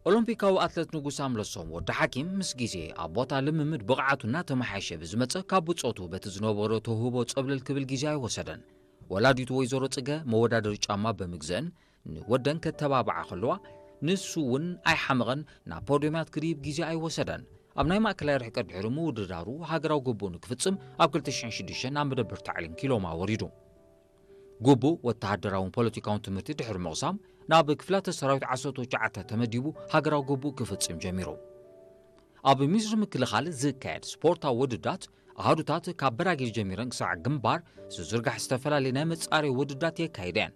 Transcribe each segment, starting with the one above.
ኦሎምፒካዊ ኣትለት ንጉስ ኣምለሶም ወዲ ሓኪም ምስ ግዜ ኣብ ቦታ ልምምድ ብቕዓቱ እናተመሓየሸ ብዝመጸ ካብ ብጾቱ በቲ ዝነበሮ ተውህቦ ጸብለል ክብል ግዜ ኣይወሰደን። ወላዲቱ ወይዘሮ ጽገ መወዳደሪ ጫማ ብምግዘን ንወደን ከተባብዓ ከለዋ ንሱ እውን ኣይሓመቐን ናብ ፖድዮማት ክድይብ ግዜ ኣይወሰደን። ኣብ ናይ ማእከላይ ርሕቀት ድሕሪ ምውድዳሩ ሃገራዊ ግቡኡ ንክፍጽም ኣብ ክልተ ሽሕን ሽዱሽተን ናብ መደበር ታዕሊም ኪሎማ ወሪዱ። ግቡእ ወተሃደራውን ፖለቲካውን ትምህርቲ ድሕሪ ምቕሳም ናብ ክፍላተ ሰራዊት ዓሰርተ ትሽዓተ ተመዲቡ ሃገራዊ ግቡእ ክፍጽም ጀሚሩ። ኣብ ሚኒስትሪ ምክልኻል ዝካየድ ስፖርታዊ ውድዳት ኣሃዱታት ካብ በራጌድ ጀሚረን ክሳዕ ግንባር ዝዝርጋሕ ዝተፈላለዩ ናይ መጻረይ ውድዳት የካይድ እየን።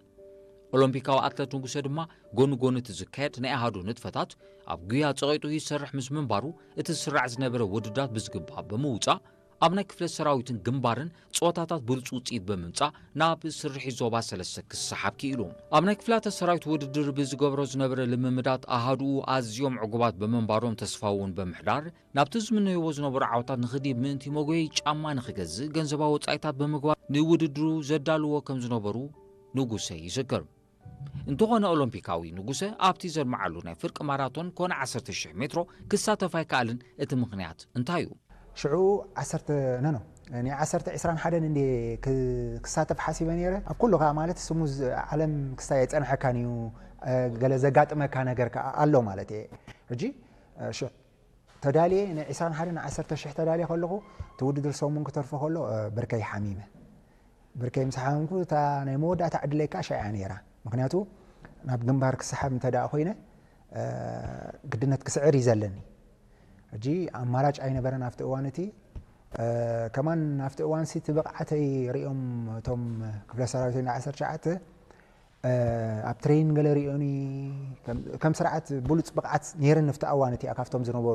ኦሎምፒካዊ ኣትለት ንጉሰ ድማ ጎኒ ጎኒ እቲ ዝካየድ ናይ ኣሃዱ ንጥፈታት ኣብ ጉያ ጸቒጡ ይሰርሕ ምስ ምንባሩ እቲ ዝስራዕ ዝነበረ ውድዳት ብዝግባእ ብምውጻእ ኣብ ናይ ክፍለ ሰራዊትን ግንባርን ጸወታታት ብሉጽ ውጽኢት ብምምጻእ ናብ ስርሒት ዞባ ሰለስተ ክሰሓብ ክኢሉ። ኣብ ናይ ክፍላተ ሰራዊት ውድድር ብዝገብሮ ዝነበረ ልምምዳት ኣሃዱኡ ኣዝዮም ዕጉባት ብምንባሮም ተስፋ እውን ብምሕዳር ናብቲ ዝምነይዎ ዝነበሩ ዓወታት ንኽድይብ ምእንቲ መጎየይ ጫማ ንኽገዝእ ገንዘባዊ ወጻኢታት ብምግባር ንውድድሩ ዘዳልዎ ከም ዝነበሩ ንጉሰ ይዝክር። እንተኾነ ኦሎምፒካዊ ንጉሰ ኣብቲ ዘድመዓሉ ናይ ፍርቂ ማራቶን ኮነ ዓሰርተ ሽሕ ሜትሮ ክሳተፍ ኣይከኣልን። እቲ ምኽንያት እንታይ እዩ? ሽዑ ዓሰርተ፣ ኖ፣ ኖ፣ ናይ ዓሰርተ ዒስራን ሓደን እንዴ ክ-፣ ክሳተፍ ሓሲበ ነይረ። ኣብ ኩሉ ከኣ ማለት ስሙ ዝ-፣ ዓለም ክሳይ ኣይጸንሐካን እዩ፣ እ፣ ገለ ዘጋጥመካ ነገር ከኣ ኣሎ ማለት እየ። ሕጂ፣ እ፣ ሽዑ ተዳልየ ናይ ዒስራን ሓደን ዓሰርተ ሽሕ ተዳልየ ከለኹ፣ እቲ ውድድር ሰሙን ክተርፎ ከሎ፣ እ፣ ብርከይ ሓሚመ። ብርከይ ምስ ሓመምኩ፣ እታ ናይ መወዳእታ ዕድለይ ከኣ ሽዓ እያ ነይራ። ምኽንያቱ፣ ናብ ግንባር ክሰሓብ እንተ ደኣ ኮይነ፣ እ፣ ግድነት ክስዕር እዩ ዘለኒ። ሕጂ ኣማራጭ ኣይነበረን ኣብቲ እዋን እቲ። እ፣ ከማን ኣብቲ እዋንሲ እቲ ብቕዓተይ ሪኦም እቶም ክፍለ ሰራዊት እንዳ ዓሰርተ ትሽዓተ፣ እ፣ ኣብ ትሬኒንግ ገለ ሪኦኒ፣ ከም፣ ከም ስርዓት ብሉጽ ብቕዓት ነይረኒ ኣብቲ እዋን እቲ፣ ካብቶም ዝነበሩ